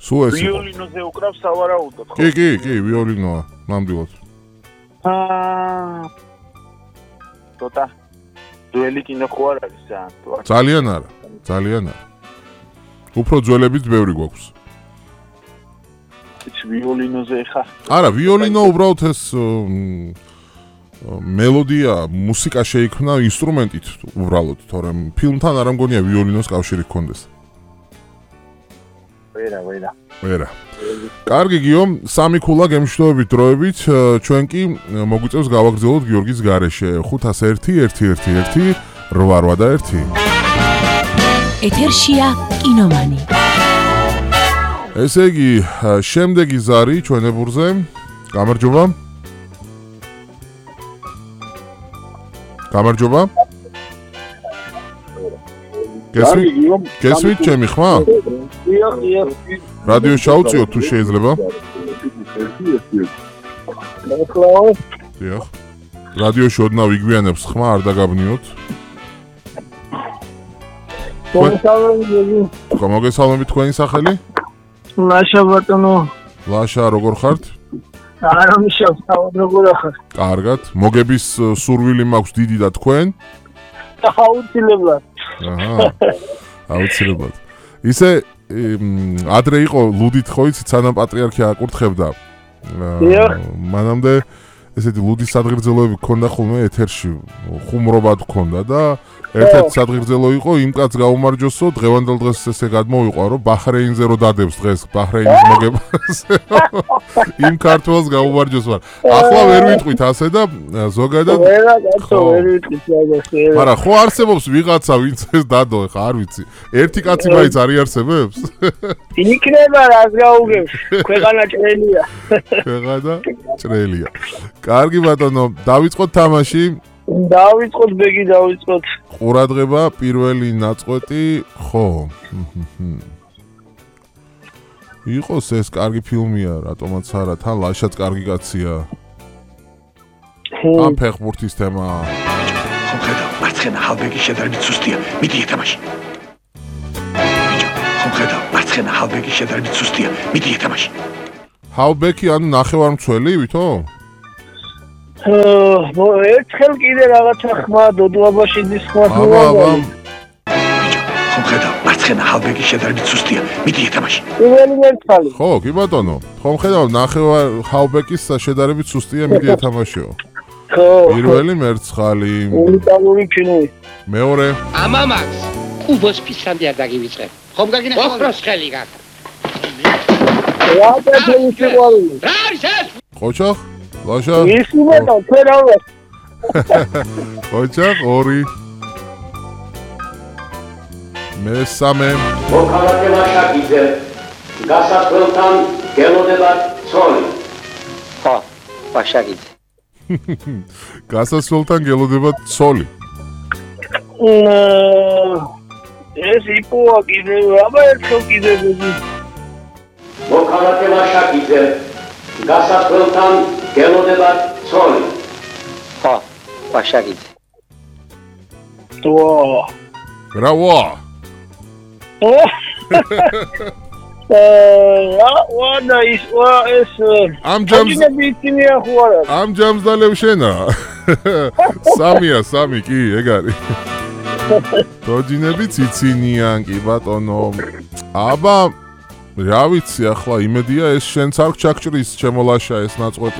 სულ ეს იყო. ვიოლინოზე უკრავს სავარაუდოდ, ხო? კი, ვიოლინოა, ნამდვილად. ცოტა ძველი კინო ხო არ არის ძალიან არა. უფრო ძველებიც ბევრი გვაქვს. ვიოლინოზე ხა? არა, ვიოლინო უბრალოდ ეს მელოდია, მუსიკა შეიქმნა ინსტრუმენტით უბრალოდ, თორემ ფილმთან არ მგონია ვიოლინოს კავშირი გქონდეს. ვერა. კარგი გიო, სამი ქულა გემშვიდობებით დროებით, ჩვენ კი მოგვიწევს გავაგრძელოთ გიორგის გარეშე 501-111-881. ეთერშია კინომანი. ესე იგი, შემდეგი ზარი ჩვენებურზე. გამარჯობა. გესმით ჩემი ხმა? რადიო შავწიოთ თუ შეიძლება? დიახ. რადიოში ოდნავ იგვიანებს ხმა, არ დაგაბნიოთ. მოგესალმებით, თქვენი სახელი? ლაშა ბატონო. ლაშა, როგორ ხართ? არა მიშავ, როგორ ხარ? კარგად. მოგების სურვილი მაქვს დიდი და თქვენ? აუცილებლად. აუცილებლად. ისე ადრე იყო ლუდით ხო იცით, სანამ პატრიარქია აკურთხებდა. მანამდე ესეთი ლუდის სადღერძელოები გქონდა ხოლმე ეთერში, ხუმრობად გქონდა და ერთ-ერთი სადღერძელო იყო იმ კაცს გაუმარჯოსო, დღევანდელ დღეს ესე გადმოვიყვა, რომ ბაჰრეინზე რო დადებს დღეს ბაჰრეინის მოგებას. იმ ქართველს გაუმარჯოს ვარ. ახლა ვერ ვიტყვით ასე და ზოგადად ვერა კაცო, ვერ ვიტყვით რაღაცა. მაგრამ ხო არსებობს ვიღაცა, ვინც ეს დადო, ხა არ ვიცი. ერთი კაცი მაინც არ იარსებებს? იქნება რას გაუგებს, ქვეყანა ჭრელია. ქვეყანა ჭრელია. კარგი ბატონო, დავიწყოთ თამაში. დავიწყოთ, ბეგი დავიწყოთ. ყურადღება, პირველი ნაწყვეტი, ხო. იყოს ეს კარგი ფილმია, რატომაც არა, თან ლაშაც კარგი კაცია. ამ ფეხბურთის თემა. ხომ ხედავ, მარცხენა ჰალბეკი შედარებით სუსტია, მიდი ეთამაში. ხომ ხედავ, მარცხენა ჰალბეკი შედარებით სუსტია, მიდი ეთამაში. ჰალბეკი ანუ ნახევარმცველი, ვითო? ერთხელ კიდე რაღაცა ხმა დოდუაბაშიძის ხმა აბა. ხომ ხედავ, მარცხენა ჰალბეკი შედარებით სუსტია, მიდი ეთამაში. პირველი მერცხალი. ხო, კი ბატონო. ხომ ხედავ, ნახევარ ჰალბეკის შედარებით სუსტია, მიდი ეთამაშიო. ხო. პირველი მერცხალი. უნიკალური ფილმი. მეორე. ამამაკს კუბოს ფისამდე არ დაგივიწყებ. ხომ გაგინახე? ოქროს ხელი გაქვს. რა თქმა უნდა. რა არის ეს? ყოჩახ? ლაშა? ისმოდა ფერავა. ყოჩახ, ორი. მესამე. მოქალაქე ლაშაკიძე, გასასვლელთან გელოდება ცოლი. ხო, ლაშაკიძე. გასასვლელთან გელოდება ცოლი. ეს იპოა კიდე, აბა ერთხელ კიდე. მოქალაქე ლაშაკიძე, გასასვლელთან გელოდება ცოლი. ხო, ლაშაკიძე. რა ვა? ვანა ის ეს ამ ჯამს დალევშენა. სამი კი, ეგ არის. დოჯინები ციცინიან კი ბატონო. აბა რა ვიცი ახლა იმედია ეს შენც არ ჩაგჭრის ჩემო ლაშა ეს ნაწყვეტი.